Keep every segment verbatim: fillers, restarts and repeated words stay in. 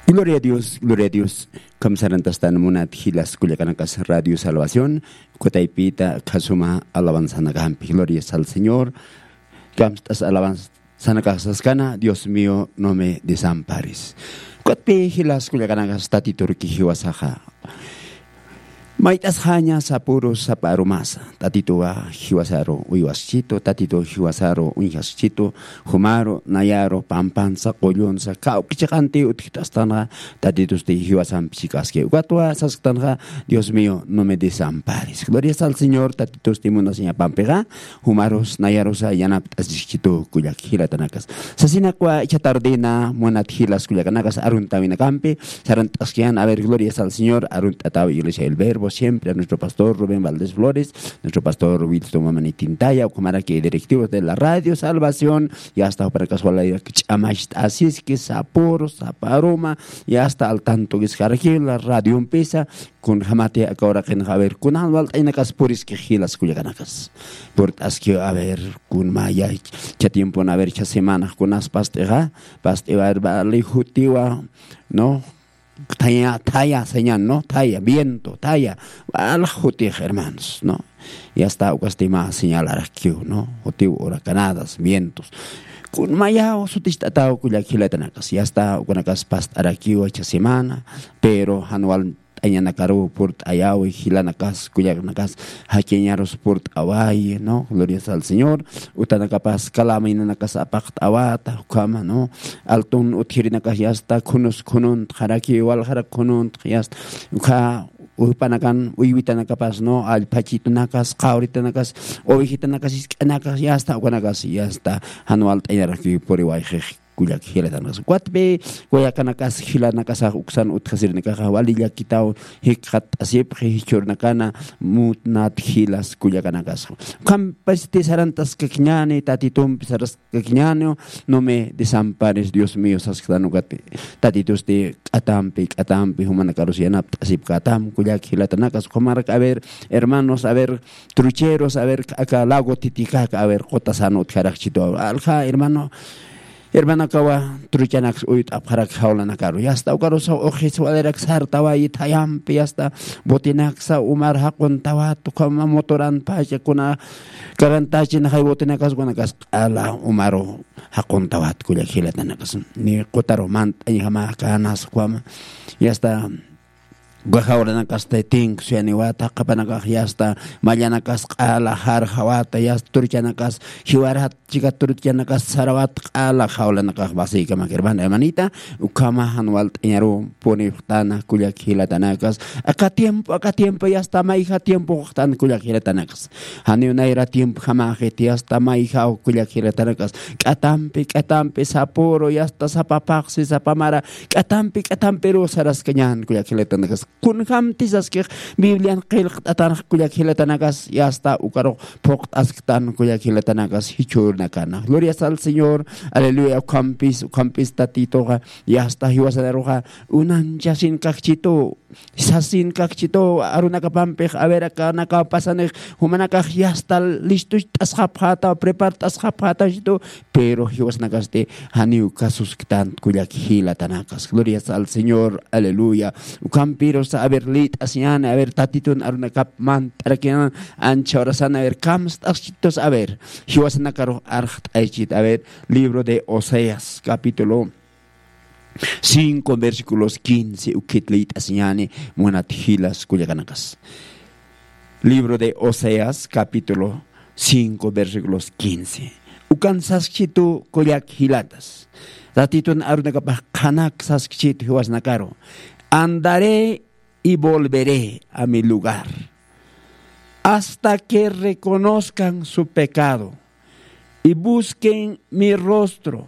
Gloria a Dios, gloria a Dios. Kamsarantastan munat jilas kullakanakas Radio Salvación, kutaypita kasuma alabanzanakampi. Gloria al Señor. Kamstas alabanzanakasaskana, Dios mío, no me desampares. Kutpi jilas kullakanakas tatiturki jiwasaxa. Mayt'asxaña sapuru sapa arumasa, tatituwa jiwasaru uywaskitu, tatitu jiwasaru uñjaskitu, jumaru, nayaru, pampansa, qullunsa, kawkichiqanti utjit'astanxa, tatitusti jiwasampi chikaski. Ukatwa sasktanxa, Dios mío, no me desampares. Glorias al Señor, tatitusti munasiñapampixa, jumarus, nayarusa, yanapt'asiskitu, kullak jilatanakas. Sasinakwa, icha tardina, munat jilas kullakanakas, aruntawinakampi, Sarant'askian, a ver, glorias al Señor, arunt'ataw Iglesia El Verbo, siempre a nuestro pastor Rubén Valdés Flores, nuestro pastor Wilson Mamani Tintaya, ukhamaraki directivos de la Radio Salvación, y hasta jupanakas walayak ch'amacht'asiski, sapuru, sapa aruma, y hasta al tanto que es la radio empieza, kunjamati aka uraqinxa, a ver, kunan walt'aynakas puriski jilas kullakanakas. Purt'aski, a ver, kunmaya, cha tiempon, a ver, cha semana, kunas past'ixa, past'iwa, a ver, vali jutiwa, ¿no? Thaya, thaya, señal, ¿no? Thaya, viento, thaya. Wal jutix, hermanos, ¿no? Ya está, ukasti mä señalarakiw, ¿no? Jutiw huracanadas, vientos. Kunmayaw suticht'ataw kullak jilatanakas. Ya está, ukanakas past'arakiw esta semana, pero jan walt'añanakaruw purt'ayaw, jilanakas, kullakanakas, jakiñarus purt'awayi, ¿no? Glorias al Señor. Utanakapas kalaminanakas apaqt'awata, ukhama, ¿no? Altun utjirinakas yasta, khunus khununtxaraki, waljarak khununtx yasta. Ukha, jupanakan, uywitanakapas, ¿no? Allphachitunakas, qawritanakas, ovejitanakas, isk'anakas, yasta, ukanakas, yasta. Jan walt'añaraki puriwayxix, kullak jilatanakas. Ukatpi, kullakanakas, jilanakasax, uksan utjasirinakaxa, wali llakitaw, jikxatt'asipxi, jichhürnakana, munat jilas kullakanakasxa. Ukhampasti sarant'askakiñäni, tatitumpi saraskakiñäni, no me desampares, Dios mío, sasktan ukati. Tatitusti k'atampi, k'atampi, jumanakarus yanapt'asipkätam, kullak jilatanakas, ukhamarak, a ver, hermanos, a ver, trucheros, a ver, aka lago Titicaca, a ver, qutasan utjarakchitu, alja, hermano, Hermanakawa, truchanaks uyt'apxarak jawlanakaru. Yasta ukarusa uxis walirak sartawayi thayampi, yasta botenaksa umar jaquntawat, ukhama motoran pachakuna, karantachin jay botenakas, ukanakas q'ala umaru jaquntawat, kullak jilatanakas. Ni qutaru mant'añjama kanas ukhama. Yasta Uka jawranakasti tinksuyaniwata, qhapanakax yasta, mallanakas q'ala jarjawata, yasta, truchanakas jiwarat, chika truchanakas sarawat, q'ala jawlanakax vasiykamak, hermana, hermanita, ukhama jan walt'añaru puniwxtana, kullak jilatanakas, aka tiempo, aka tiempo, yasta, mayja tiempo wxtan, kullak jilatanakas. Janiw nayra tiempjamaxiti, yasta, mayjaw, kullak jilatanakas, k'atampi, k'atampi, sapuru, yasta, sapa phaxsi, sapa mara, k'atampi, k'atampiru saraskañän, kullak jilatanakas. Kunjamti saskix Biblian qillqt'atanx, kullak jilatanakas, yasta, ukarux phuqt'asktan, kullak jilatanakas, jichhürnakana. Glorias al Señor, aleluya, ukhampis, ukhampis Tatituxa, yasta, jiwasanaruxa, unanchasin kakchitu, sasin kakchitu, arunakapampix, a ver, akanakaw pasanix, jumanakax yasta listucht'asxapxäta, prepart'asxapxätachitu, pero jiwasnakasti janiw kasusktan, kullak jilatanakas. Glorias al Señor, aleluya. Ukhampirusa, a ver, lït'asiñäni, a ver, Tatitun arunakap mant'arakiñäni, ancha horasan, a ver, kamst'askchitus, a ver, jiwasnakarux arxt'aychit, a ver, libro de Oseas, capítulo cinco, versículos quince, ukhit lït'asiñäni, munat jilas kullakanakas. Libro de Oseas, capítulo cinco, versículos quince. Ukan saskchitu, kullak jilatas. Tatitun arunakapax qhanak saskchitu jiwasnakaru. Andaré y volveré a mi lugar, hasta que reconozcan su pecado y busquen mi rostro.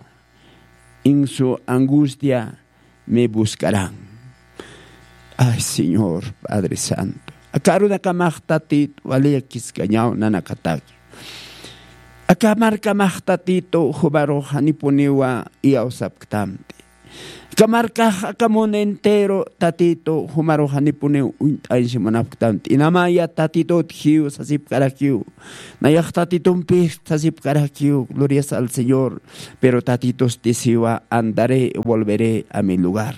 En su angustia me buscarán. Ay, Señor, Padre Santo. Aka arunakamax Tatitu, wali llakiskañaw nanakataki. Aka markamax Tatitu, jumarux janipuniwa iyawsapktamti. Aka markax, aka mundo entero Tatitu jumaru janipuniw uñt'añsi munapktan. T'inamaya Tatitut jiw sasipkarakiw. Nayax Tatitumpix sasipkarakiw, glorias al Señor. Pero Tatitusti siwa, andaré y volveré a mi lugar.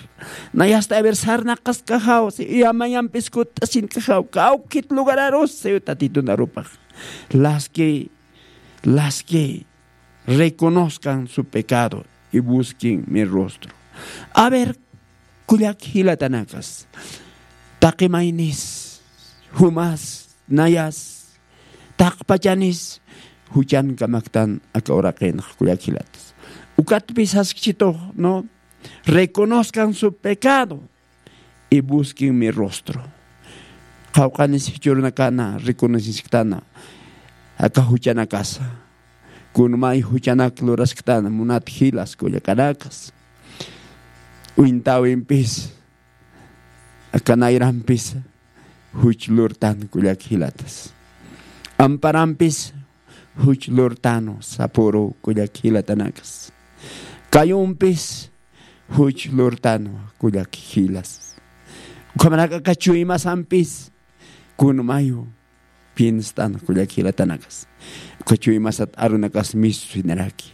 Nayasta a ver sarnaqaskaxaw, si yamayampis kutt'asinkaxaw, kawkit lugararus siw Tatitun arupax. Las que, las que reconozcan su pecado y busquen mi rostro. A ver, kullak jilatanakas, taqi maynis, jumas, nayas, taqpachanis juchankamaktan aka uraqinx, kullak jilatas. Ukatpis saskchitux, ¿no? Reconozcan su pecado y busquen mi rostro. Qawqhanis jichhürunakana reconocesktana aka juchanakasa. Kunmay juchanak lurasktana, munat jilas kullakanakas. Uñtawimpis, aka nayrampis juch lurtan, kullak jilatas. Amparampis juch lurtanwa, sapüru, kullak jilatanakas. Kayumpis juch lurtanwa, kullak jilas. Ukhamarak aka chuymasampis kunmayu pienstan, kullak jilatanakas. Uka chuymasat arunakas mistusinaraki.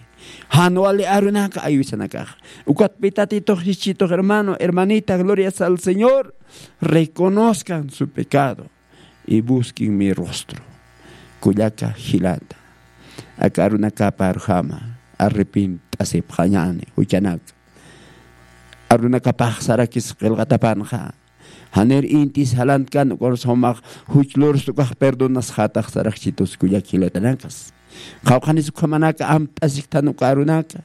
Jan wali arunaka aywisanakaxa. Ukatpi Tatitux jichhitux, hermano, hermanita, glorias al Señor. Reconozcan su pecado y busquen mi rostro. Kullaka jilata, aka arunakapa arjama arrepint'asipxañäni juchanaka. Arunakapax sarakis qillqatapanxa. Janir intis jalantkan, ukarus jumax juch lurst ukax perdonasxatax sarakchitus, kullak jilatanakas. Qawqhanis ukhamanaka amt'asikthan uka arunaka.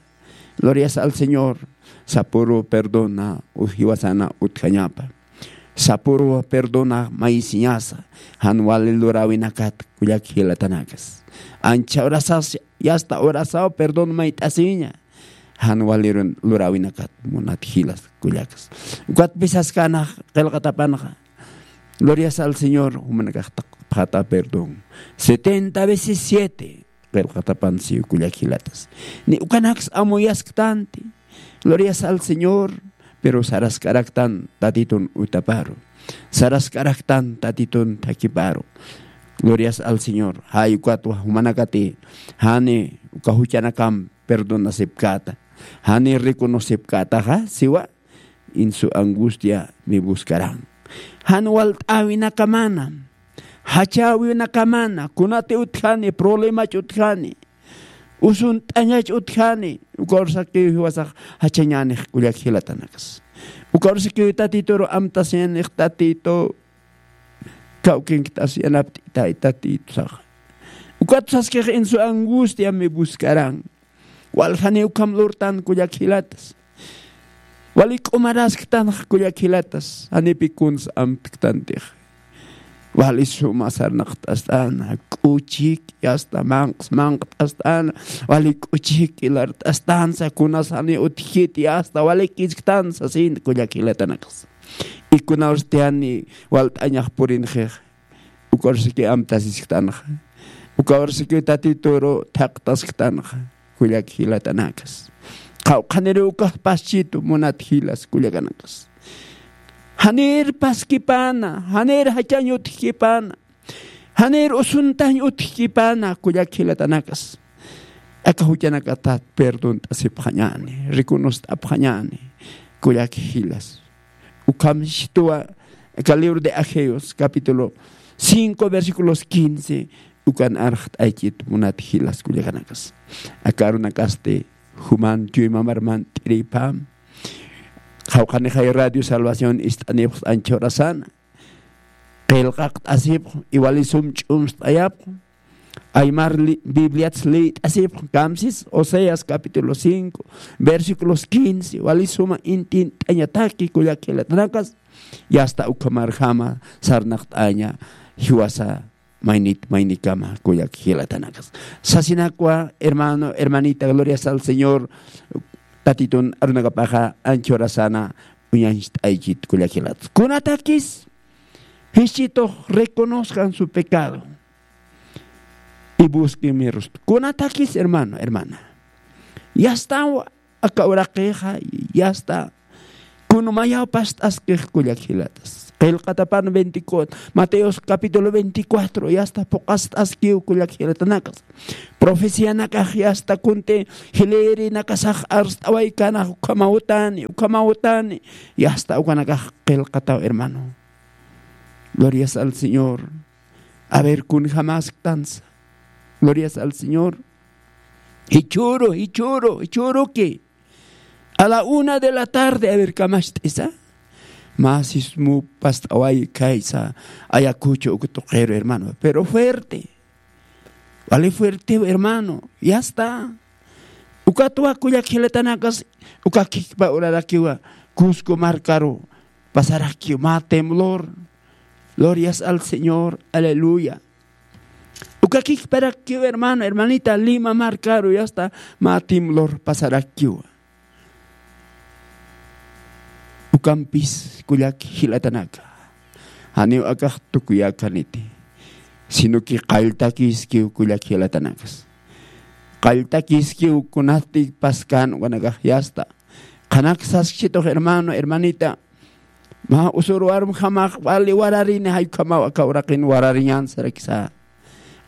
Glorias al Señor. Sapüru perdona, jiwasana utjañapa. Sapüru perdona mayisiñasa, jan wali luräwinakat, kullak jilatanakas. Ancha urasas, yasta urasaw perdón mayt'asiña. Jan wali luräwinakat, munat jilas kullakas. Ukatpis saskanax qillqatapanxa. Glorias al Señor, jumanakax taqpxata perdón. Setenta veces siete. Qillqatapan siw, kullak jilatas. Ni ukanaks amuyasktanti. Glorias al Señor. Pero saraskaraktan Tatitun utaparu. Saraskaraktan Tatitun thakiparu. Glorias al Señor. Jay ukatwa jumanakati jani uka juchanakamp perdonasipkäta, jani reconocipkätaxa, siwa, en su angustia me buscarán. Jan walt'äwinakamana, jachäwinakamana, kunati utjani, problemach utjani, usunt'añach utjani, uka ursakiw jiwasax jachañänix, kullak jilatanakas. Uka ursakiw Tatituru amtasiñänix, Tatitu, kawkinkt'asiñanapt'itay Tatitusaxa. Ukat saskix en su angustia me buscarán. Waljani ukham lurtan, kullak jilatas. Wali k'umarasktanx, kullak jilatas, janipi kuns amtktantix. Wali suma sarnaqt'ast'ana, k'uchiki asta manqs manqt'ast'ana, wali k'uchiki lart'astansa, kunas jani utjkiti asta wali kisktansa, sin, kullak jilatanakas. Y kunawsti jani walt'añax purinxix, uka ursiki amtasisktanxa. Uka ursiki Tatituru thaqtasktanxa, kullak jilatanakas. Qawqhaniri ukax paschitu, munat jilas kullakanakas. Janir paskipana, janir jachañ utjkipana, janir usuntañ utjkipana, kullak jilatanakas. Aka juchanakatat perdont'asipxañäni, reconost'apxañäni, kullak jilas. Ukham sitwa aka libro de Ageos, capítulo cinco, versículos quince, ukan arxt'aychit, munat jilas kullakanakas. Aka arunakasti juman chuymamarman t'iripam. Qawqhanixay Radio Salvación ist'anipxs anchhurasana. Qillqaqt'asipx, iwali sum ch'umst'ayapx. Aymar li-, Bibliats liyt'asipx, kamsis, Oseas capítulo cinco, versículos quince, wali suma intint'añataki, kullak jilatanakas, yasta ukhamarjama sarnaqt'aña jiwasa maynit maynikama, kullak jilatanakas. Sasinakwa, hermano, hermanita, glorias al Señor, Tatitun arunakapaxa anchhurasana uñacht'aychit, kullak jilat. Kunatakis jichhitux reconozcan su pecado y busquen mi rostro. Kunatakis, hermano, hermana. Yastawa, aka uraqixa, yasta. Kun mayaw past'askix kullak jilatas. Qillqatapan veinticuatro, Mateos capítulo veinticuatro, yasta phuqast'askiw kullak jilatanakas. Profecianakax yasta kunti jilïrinakasax arst'awaykänax ukhamawtani, ukhamawtani. Yasta ukanakax qillqataw, hermano. Glorias al Señor. A ver, kunjamäsktansa. Glorias al Señor. Jichhüru, jichhüru, jichhüruki. A la una de la tarde, a ver, kamacht'isa. Mä sismu past'away khaysa Ayacucho uka tuqiru, hermano. Pero fuerte. Vale fuerte, hermano. Ya está. Ukatwa kullak jilatanakas, uka khikpa urarakiwa Cusco markaru pasarakiw mä temblor. Glorias al Señor. Aleluya. Uka khikparakiw, hermano, hermanita, Lima markaru ya está, mä temblor pasarakiwa. Ukampis kullak jilatanaka, janiw akax tukuyakaniti, sino que qalltakiskiw kullak jilatanakas. Qalltakiskiw kunasti paskan ukanakax yasta. Qhanak saskchitux, hermano, hermanita, mä usur warmjamax wali wararini, jay ukhamaw aka uraqin warariñän sarakisa.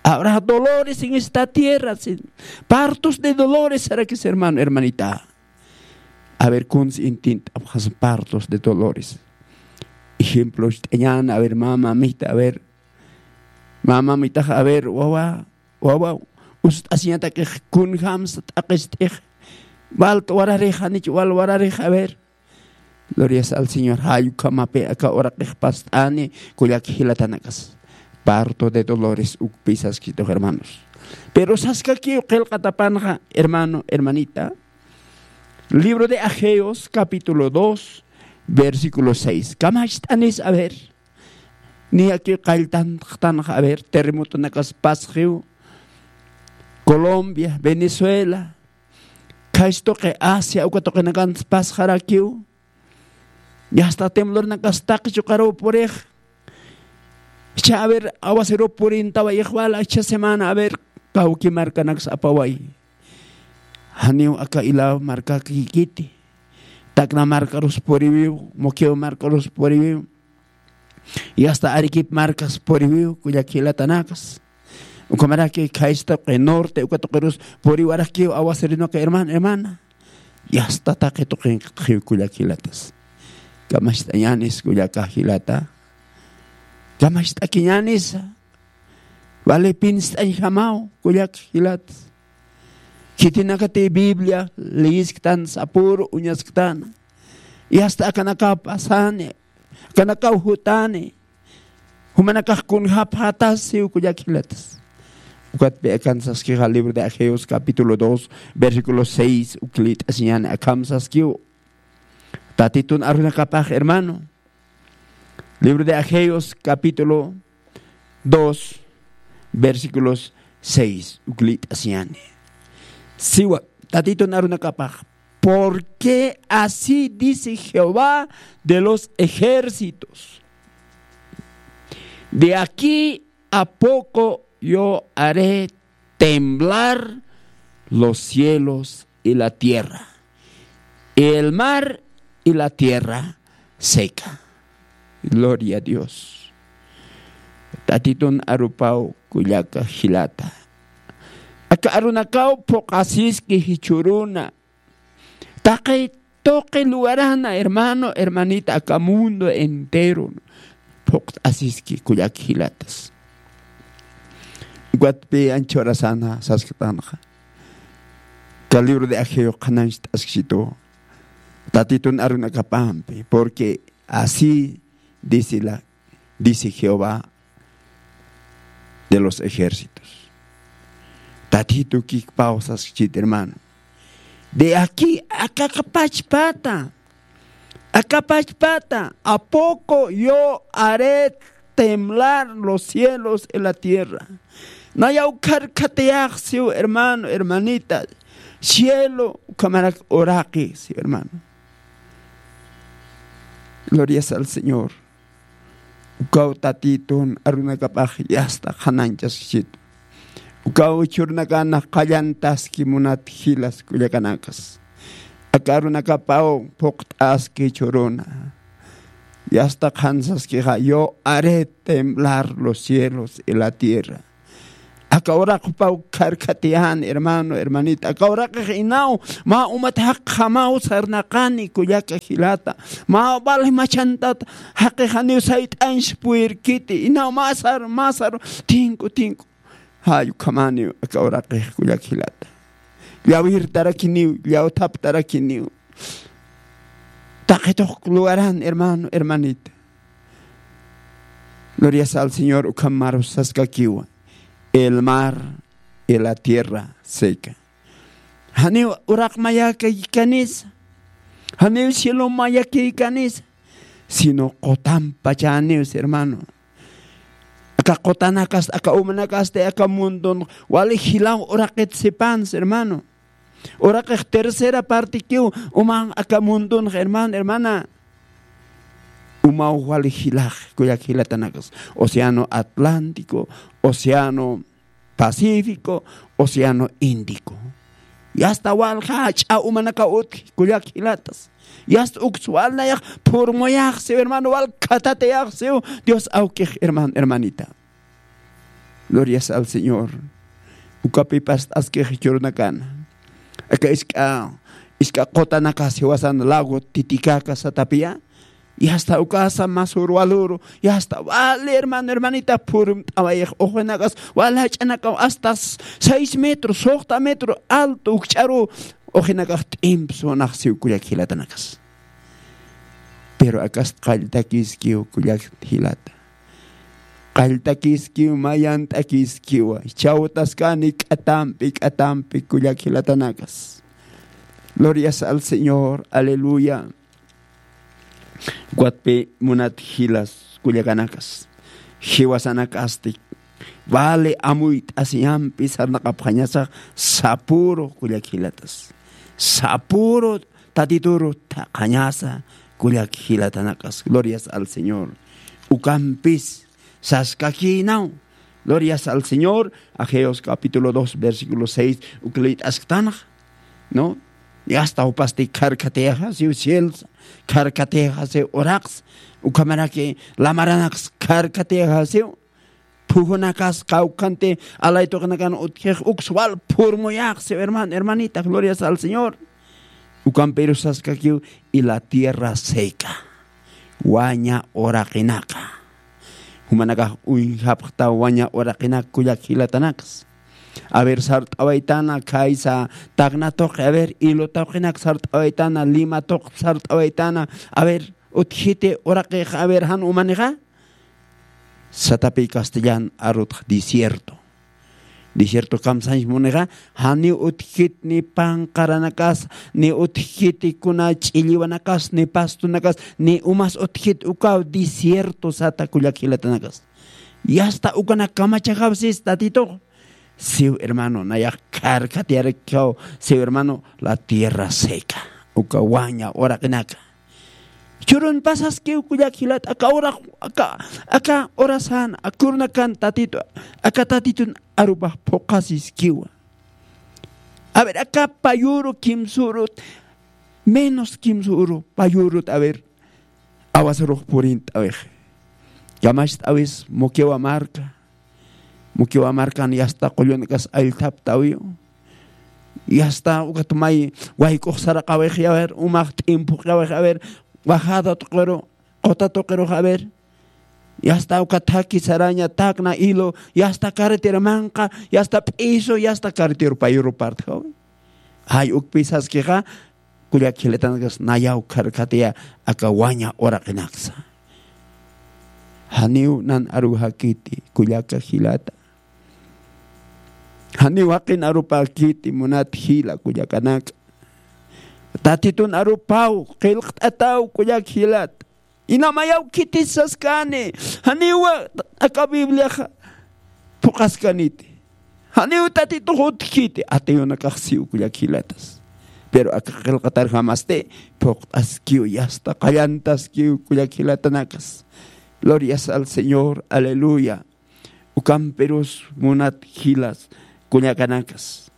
Habrá dolores en esta tierra, sin, partos de dolores sarakis, hermano, hermanita. A ver, kuns intint'apxas partos de dolores. Ejemplo, ist'añän, a ver, mä mamita, a ver, mä mamitax, a ver, wawa, wawa, ust'asiñatakix kunjamsa t'aqist'ix, wal wararix, janich wal wararix, a ver. Glorias al Señor. Jay ukhamapi aka uraqix past'ani, kullak jilatanakas. Parto de dolores ukpi saskitux, hermanos. Pero saskakiw qillqatapanxa, hermano, hermanita. Libro de Ageos, capítulo dos, versículo seis. Kamacht'anis, a ver. Niyakiw qalltantxtanxa, a ver, terremotonakas pasxiw. Colombia, Venezuela, khaysa tuqi Asia, uka tuqinakans pasxarakiw. Yasta temblornakas taqi chuqaruw purix. Jichha, a ver, aguacerow purintawayix wal, jichha semana, a ver, kawki markanaks apaway. Janiw aka Ilao markakïkiti. Tacna markarus puriwiw, Moquegua markarus puriwiw. Yasta Arequipa markas puriwiw, kullak jilatanakas. Ukhamaraki khaysa tuqi norte, uka tuqirus puriwarakiw aguaceronaka, hermano, hermana. Yasta taqi tuqinqatxiw, kullak jilatas. Kamacht'añänis, kullaka jilata. Kamacht'akiñänisa. Vale, pinst'añjamaw, kullak jilatas. Khitinakati Biblia leyisktan, sapüru uñasktan. Yasta akanakaw pasani, akanakaw jutani. Jumanakax kunjapxätasiw, kullak jilatas. Ukatpï akan saskixa libro de Ageos capítulo dos, versículo seis, uk liyt'asiñäni, akham saskiw. Tatitun arunakapax, hermano. Libro de Ageos, capítulo dos, versículos seis, uk liyt'asiñäni. Siwa, Tatitun arunakapax. Porque así dice Jehová de los ejércitos: de aquí a poco yo haré temblar los cielos y la tierra, el mar y la tierra seca. Gloria a Dios. Tatitun arupaw, kullaka jilata. Aka arunakaw phuqasiski jichhüruna. Taqi tuqi lugarana, hermano, hermanita, aka mundo entero phuqt'asiski, kullak jilatas. Ukatpï ancha urasana sasktanxa. Aka libro de Ageo qhanañcht'askchitu. Tatitun arunakapampi, porque así dice la, dice Jehová de los ejércitos. Tatitu kikpaw saskchit, hermano. De aquí, aka pachpata, aka pachpata, a poco yo haré temblar los cielos y la tierra. Nayaw kharkhatayäx siw, hermano, hermanita. Cielo, ukhamarak uraqi siw, hermano. Glorias al Señor. Ukaw Tatitun arunakapax yasta qhanañchaskchitu. Ukaw jichhürunakana qallantaski, munat jilas kullakanakas. Aka arunakapaw phuqt'aski jichhüruna. Yasta qhansaskixa, yo haré temblar los cielos y la tierra. Aka uraqpaw kharkhatiyän, hermano, hermanita. Aka uraqix inaw mä umat jaqjamaw sarnaqani, kullaka jilata. Mä vale machantat jaqix janiw sayt'añs puyirkiti. Inaw mä sar, mä sar, tinku, tinku. Jay ukhamaniw aka uraqix, kullaka jilata. Llawirtarakiniw, llawthaptarakiniw. Taqi tuq lugaran, hermano, hermanita. Glorias al Señor, ukham marus saskakiwa. El mar y la tierra seca. Janiw uraq mayakïkanisa, janiw cielo mayakïkanisa, sino qutanpachäniws, hermano. Aka qutanakasti, aka umanakasti, aka mundun wali jilaw uraqit sipansa, hermano. Uraqix tercera partikiw uman aka mundunxa, hermano, hermana. Umaw wali jilax, kullaka jilatanakas. Océano Atlántico, Océano Pacífico, Océano Índico. Yasta walja jach'a umanakaw utji, kullaka jilatas. Yasta uks wal nayax phurmuyaxsiw, hermano, wal khatatayaxsiw Dios awkix, hermano, hermanita. Glorias al Señor. Ukapi past'askix jichhürunakana. Aka isk'a, isk'a qutanakas jiwasan lago Titicaca satapiya. Yasta ukasa mä sur walüru. Yasta wali, hermano, hermanita, phurmt'awayix uxinakas, wal jach'anakaw hasta seis metros, suxta metro alto ukch'aru uxinakax t'imp sunaxsiw, kullaka jilatanakas. Pero akast qalltakiskiw, kullaka jilata. Qalltakiskiw, mayant'akiskiwa. Chawtaskani k'atampi, k'atampi, kullaka jilatanakas. Glorias al Señor, aleluya. Ukatpi munat jilas, kullakanakas, jiwasanakasti vale amuyt'asiyampi sarnaqapxañasa sapüru, kullaka jilatas. Sapüru Tatituru thaqhañasa, kullaka jilatanakas. Glorias al Señor. Ukampis saskakïnaw. Glorias al Señor. Ageos capítulo dos, versículo seis, uk liyt'asktanxa, ¿no? Yasta jupasti kharkhatayxasiw cielsa, kharkhatayxasiw uraqsa, ukhamaraki lamaranaksa kharkhatayxasiw. Phujunakas, qawqhanti alaytuqinakan utjix, uks wal phurmuyaxsiw, hermano, hermanita, glorias al Señor. Ukampiru saskakiw, y la tierra seca. Waña uraqinaka. Jumanakax uñjapxta waña uraqinaka, kullaka jilatanakas. A ver, sart'awaytana, khaysa tacna tuqi, a ver, hilo tuqinak sart'awaytana, lima tuq sart'awaytana, a ver, utjiti uraqix, a ver, jan umanixa. Satapi castellan arutxa desierto. Desierto kamsañs munixa, janiw utjkit ni panqaranakas, ni utjkit kuna ch'illiwanakas, ni pastonakas, ni umas utjkit, ukaw desierto sata, kullaka jilatanakas. Yasta ukanak kamachaxaw sis Tatitux. Siw, hermano, nayax kharkhatayarakiw, siw, hermano, la tierra seca. Uka waña uraqinaka. Churun pasaskiw, kullaka jilat, aka ura, aka, aka urasan, aka urunakan Tatitu, aka Tatitun arupax phuqasiskiwa. A ver, aka payuru kimsürut, menos kimsürut payurut, a ver, awasarux purint'awix. Kamacht'awis Moquegua marka, Moquegua markan yasta qullunakas allthaptawiw. Yasta ukat may wayk'ux saraqawix, a ver, umax t'impuqawix, a ver, bajada tuqiru, quta tuqirux, a ver. Yasta ukat thaki saraña, tacna, hilo, yasta carretera manqa, yasta p'isu, yasta carretera payuru partjawi. Jay ukpi saskixa, kullaka jilatanakas, nayaw kharkhataya aka waña uraqinaksa. Janiw nan aruxakiti, kullaka jilata. Janiw jaqin arupäkiti, munat jila kullakanaka. Tatitun arupaw, qillqt'ataw, kullaka jilata. Ina mayaw khitis saskani, janiwa aka Bibliaxa phuqaskaniti. Janiw Tatitux utjkiti, atiyunakax siw, kullaka jilatas. Pero aka qillqatarjamasti, phuqt'askiw, yasta qallantaskiw, kullaka jilatanakas. Glorias al Señor, aleluya. Ukampirus munat jilas, kullakanakas.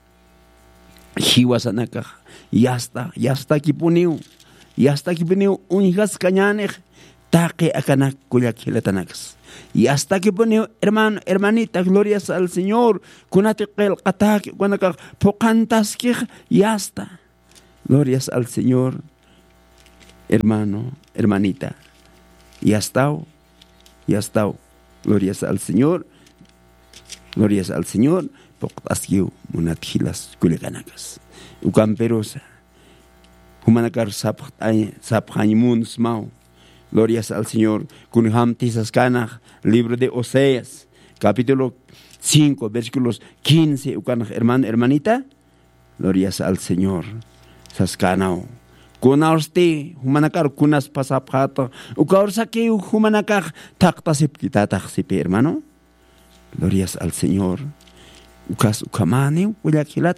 jiwasanakax yasta, yastakipuniw, yastakipuniw uñjaskañänix taqi akanak kullak jilatanakas. Yastakipuniw, hermano, hermanita, glorias al Señor, kunati qillqatäki ukanakax phuqhantaskix, yasta. Glorias al Señor, hermano, hermanita. Yastaw, yastaw. Glorias al Señor, glorias al Señor, phuqt'askiw munat jilas kullakanakas. Ukampirusa, jumanakar sapxt'añ-, sapxañ munsmaw. Glorias al Señor, kunjamti saskanax, libro de Oseas, capítulo cinco, versículos quince, ukanax, hermano, hermanita, glorias al Señor. Saskanaw. Kunawsti, jumanakar kunas pasapxäta, ukawar sakiw jumanakax thaqtasipkitatax sipi, hermano. Glorias al Señor. Ukas ukhamäniw, kullak jilat.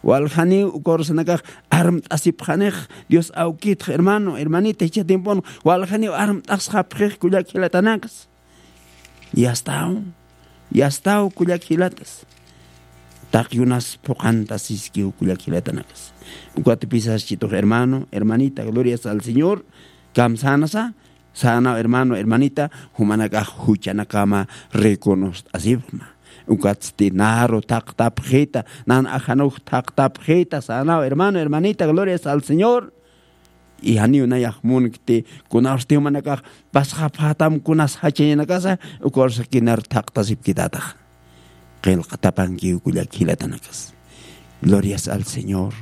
Waljaniw ukawar sanakax armt'asipxanix, Dios awkitx, hermano, hermanita, jichha tiempon, waljaniw armt'asxapxix, kullak jilatanakas. Yastaw, yastaw, kullak jilatas. Taqi unas phuqhantasiskiw, kullak jilatanakas. Ukatpis saschitux, hermano, hermanita, glorias al Señor. Kamsänasa, sänaw, hermano, hermanita, jumanakax juchanakama reconost'asipxma. Ukatsti naru thaqtapxita, nan ajanux thaqtapxita, sänaw, hermano, hermanita, glorias al Señor. Y janiw nayax munkti, kunawsti jumanakax pasxapxätam kunas jachañanakasa, ukawar sakinar thaqtasipkitatax. Qillqatapankiw, kullak jilatanakas. Glorias al Señor.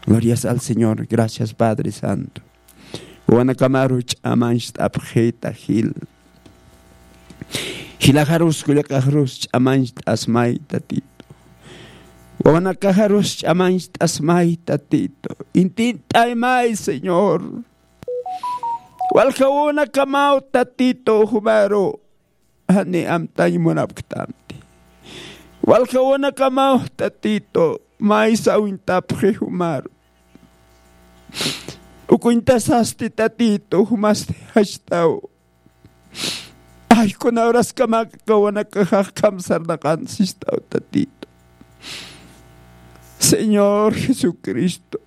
Glorias al Señor. Gracias, Padre Santo. Wawanakamaru ch'amañcht'apxita jil. Jilaxarus, kullakaxarus ch'amañcht'asmay, Tatitu. Wawanakaxarus ch'amañcht'asmay, Tatitu. Intint'aymay, Señor. Walja wawanakamaw, Tatitu, jumaru jani amtañ munapktamti. Walja wawanakamaw, Tatitu, maysa uñtapxi jumaru. Uk uñtasasti, Tatitu, jumasti jachtaw. Ay, kuna horaskamak aka wawanakaxax kamsarnaqan sistaw, Tatitu. Señor Jesucristo,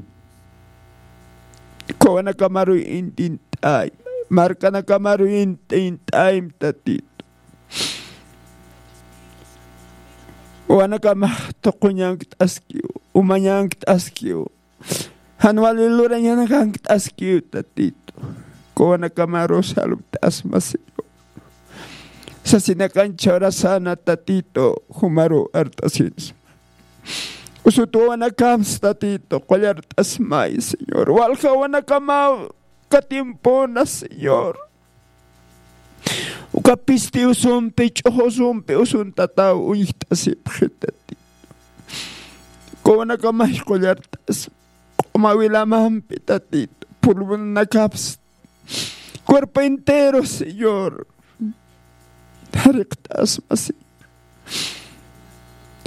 uka wawanakamaru intint'ay, markanakamaru intint'aym, Tatitu. Wawanakamax tuquñankt'askiw, umañankt'askiw. Jan wali lurañanakankt'askiw, Tatitu. Uka wawanakamar salvt'asma, Señor. Sasinakancha urasana, Tatitu, jumaru art'asinsma. Usut wawanakams, Tatitu, qullart'asmay, Señor. Walja wawanakamaw katimpuna, Señor. Uka pisti usumpi, ch'uxu usumpi usuntataw uñjt'asipxi, Tatitu. Uka wawanakamay qullart'asma. Q'uma wilamampi, Tatitu, pulmonakaps, cuerpo entero, Señor, jariqt'asma, Señor.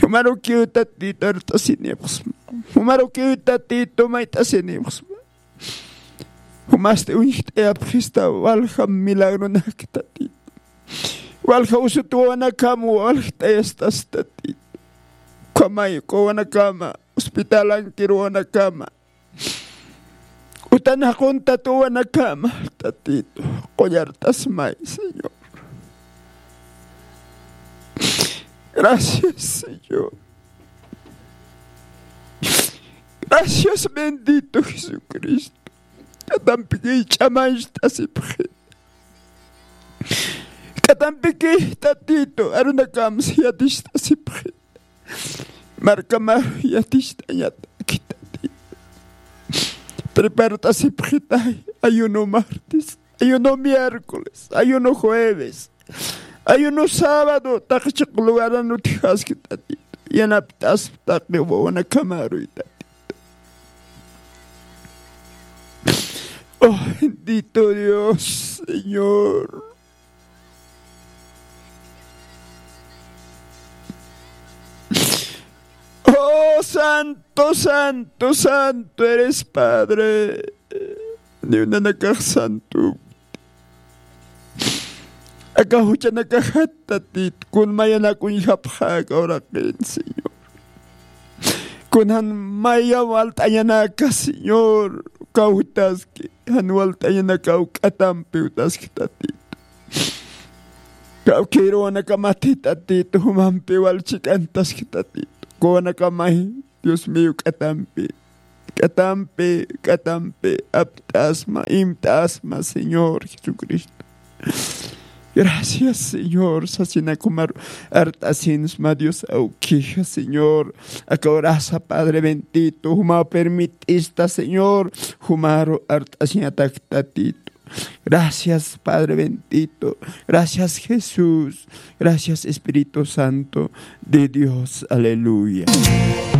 Jumarukiw, Tatitu, art'asinipxsma. Jumarukiw, Tatitu, mayt'asinipxsma. Jumasti uñjt'ayapxista walja milagronak, Tatitu. Walja usut wawanakam waljt'ayastas, Tatitu. Ukhamay uka wawanakama, hospitalankiru wawanakama, utan jaquntat wawanakama, Tatitu, qullart'asmay, Señor. Gracias, Señor. Gracias, bendito Jesucristo. K'atampiki ch'amañcht'asipxi. K'atampiki, Tatitu, arunakams yaticht'asipxi. Markamar yaticht'añataki, Tatitu. Prepart'asipxitay ayuno martes, ayuno miércoles, ayuno jueves, ayuno sábado, taqi chiq lugaran utjaski, Tatitu. Yanapt'asp taqi wawanakamaruy, Tatitu. Oh, bendito Dios, Señor. Oh, santo, santo, santo eres, Padre. Ni unanakax santo. Aka juchanakaxat, Tatitu, kun mayanak uñjapxä aka uraqin, Señor. Kunan maya walt'añanaka, Señor, kawtaski, jan walt'añanaka awk'atampi utaski, Tatitu. Kawkiruwanaka mati, Tatitu, jumampi wal chik'antaski, Tatitu. Kuwanaka may, Dios mío, k'atampi, k'atampi, k'atampi apt'asma, imt'asma, Señor Jesucristo. Gracias, Señor, sasina kumaru art'asinsma, Dios awkija, Señor. Aka urasa, Padre bendito, juma permitista, Señor, jumaru art'asiñatak, Tatitu. Gracias, Padre bendito. Gracias, Jesús. Gracias, Espíritu Santo de Dios. Aleluya.